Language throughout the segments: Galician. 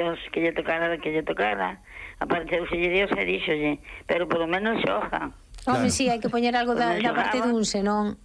Dios que lle tocara, apareceuse Dios e díxolle, pero polo menos xoja. Home, si, hai que poñer algo da parte dun, senón...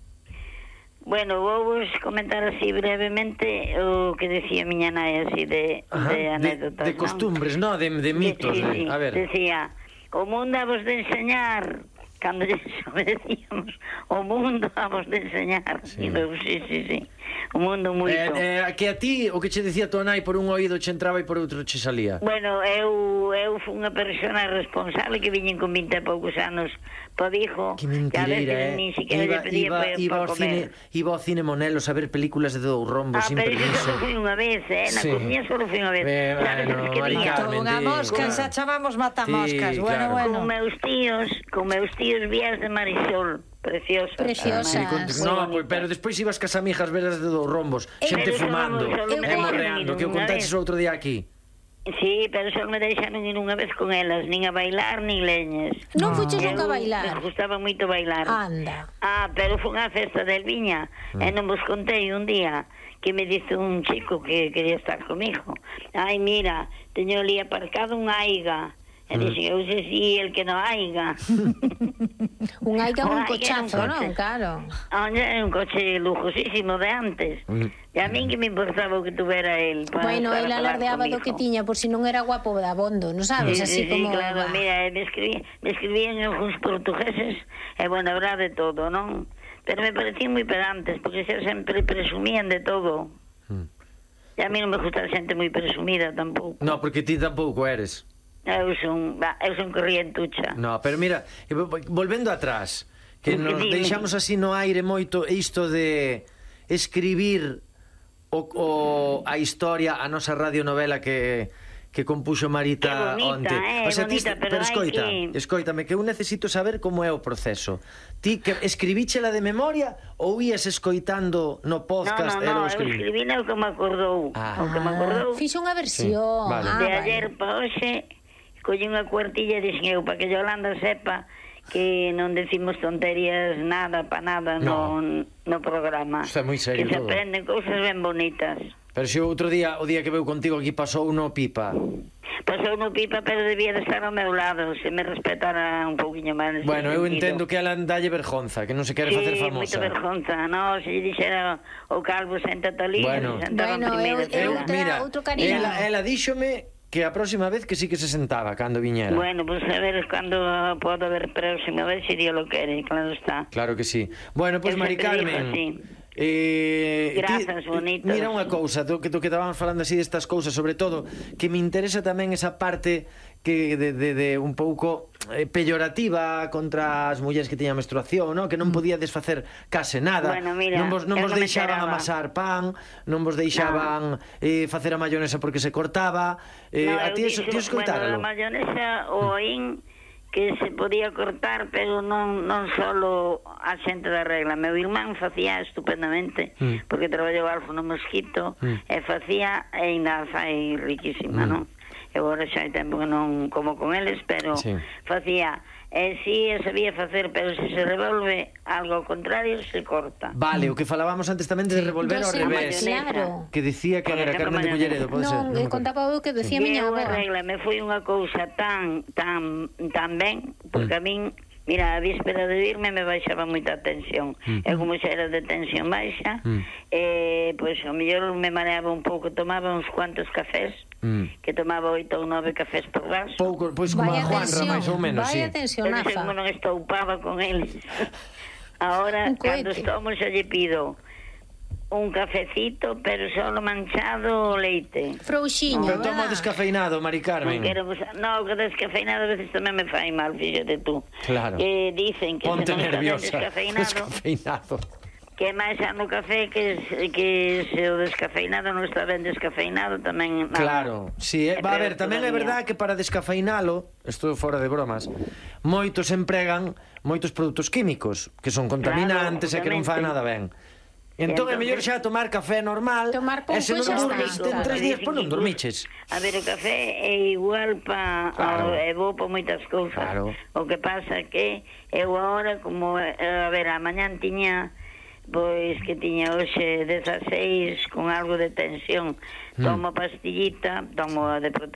Bueno, vou vos comentar así brevemente o que decía miña nai así de anécdotas, de costumbres, non? De mitos. Sí, a ver. decía, o mundo a vos de enseñar, cando lles obedecíamos, o mundo a vos de enseñar. Sí. Sí. O mundo moito. Que a ti, o que che decía tua nai por un oído che entraba e por outro che salía. Bueno, eu fui unha persona responsable que viñen con 20 e poucos anos po Vigo. Que mentireira, Nin siquiera lle pedía para comer. Iba ao cine Monelos a ver películas de Dous Rombos sin pero permiso. só fui unha vez, na comiña só fui unha vez. Sabes Bueno, que Mari viña? Carmen, Unha mosca, xa chamamos matamoscas. Sí, Bueno, claro. Con meus tíos vías de Marisol. Preciosas. No, pero despois ibas cas amigas veras de Dous Rombos, xente fumando e morreando, que o contaches outro día aquí. Sí, pero só me deixaron ir unha vez con elas, nin a bailar, nin leñes. Non fuches nunca a bailar? Me gustaba moito bailar. Anda. Pero foi unha festa de Elviña, e non vos contei un día que me dice un chico que quería estar comigo. Ai, mira, teño ali aparcado un Aiga. E dixen, eu sei si el que non haiga. Un Aiga un cochazo, non? Claro. É un coche lujosísimo de antes. E a min que me importaba o que tuvera el. Bueno, el alardeaba do que tiña, por si non era guapo da bondo, non sabes? Así como... claro, mira, me escribían algúns portugueses, e bueno, habrá de todo, non? Pero me parecían moi pedantes, porque xa sempre presumían de todo. E a mí non me gusta a xente moi presumida tampouco. No, porque ti tampouco eres. Eu son corrientucha. No, pero mira, volvendo atrás, que nos deixamos así no aire moito isto de escribir a historia, a nosa radionovela que compuxo Marita onte. O sea, bonita, pero escoítame, que eu necesito saber como é o proceso. Ti que escribíchela de memoria ou ías escoitando no podcast? No, eu escribina o que me acordou. Fixo unha versión. De ayer pa hoxe colle unha cuartilla e dixen eu, para que Yolanda sepa que non decimos tonterías nada, pa nada no programa. Está moi serio que se todo. aprenden cousas ben bonitas. Pero se outro día, o día que veu contigo aquí, pasou no pipa. Pasou no pipa, pero debía de estar ao meu lado, se me respetara un pouquiño máis. Bueno, eu entendo que ela dalle vergonza, que non se quere facer famosa. Sí, moita vergonza. No, se lle dixera o calvo senta ali, se sentaba en primeira. Outro cariño. Ela díxome que a próxima vez que sí que se sentaba cando viñera. Bueno, pues a ver cando podo ver próxima vez se Dios lo quere, claro está. Claro que sí. Bueno, pues Mari Carmen, grazas, bonito. Mira unha cousa, do que estábamos falando así destas cousas, sobre todo que me interesa tamén esa parte que de un pouco peyorativa contra as mulleres que tiñan menstruación, ¿no? Que non podía desfacer case nada. Bueno, mira, non vos deixaban amasar pan, non vos deixaban facer a mayonesa porque se cortaba. A ti escoitáralo. Bueno, a mayonesa o oín que se podía cortar, pero non solo a xente da regla. Meu irmán facía estupendamente, porque traballou alfo no Mosquito, e facía, e ainda fai riquísima, non? Eu agora xa hai tempo que non como con eles, pero facía, si sabía facer, pero se revolve algo ao contrario, se corta. Vale, o que falábamos antes tamén de revolver ao revés. Claro. Que dicía que era Carmen de Culleredo, pode ser? Non, contaba o que decía miña avó. Me foi unha cousa tan ben, porque a min, mira, a víspera de irme me baixaba moita tensión. Eu como xa era de tensión baixa, pois ao mellor me mareaba un pouco, tomaba uns cuantos cafés, que tomaba 8 ou 9 cafés por vaso. Pouco, pois como a Juanra, máis ou menos, sí. Vaya tensionaza. Pero como non estoupaba con eles. Ahora, cando tomo, xa lle pido un cafecito, pero solo manchado o leite. Frouxiño, pero toma descafeinado, Mari Carmen. No, que descafeinado a veces tamén me fai mal, fíxate tú. Claro. Dicen que ponte se non nerviosa. está Descafeinado. Que máis no café que se o descafeinado non está ben descafeinado tamén. Claro, sí, va a ver, tamén é verdad que para descafeinalo, isto fora de bromas, moitos empregan moitos produtos químicos que son contaminantes e que non fan nada ben. Entón é mellor xa tomar café normal, e se non dormiste en 3 días, pois non dormiches. A ver, o café é igual é bo para moitas cousas. O que pasa que eu agora, como, a ver, a mañan tiña pois que tiña hoxe 16 con algo de tensión. Tomo pastillita, tomo a de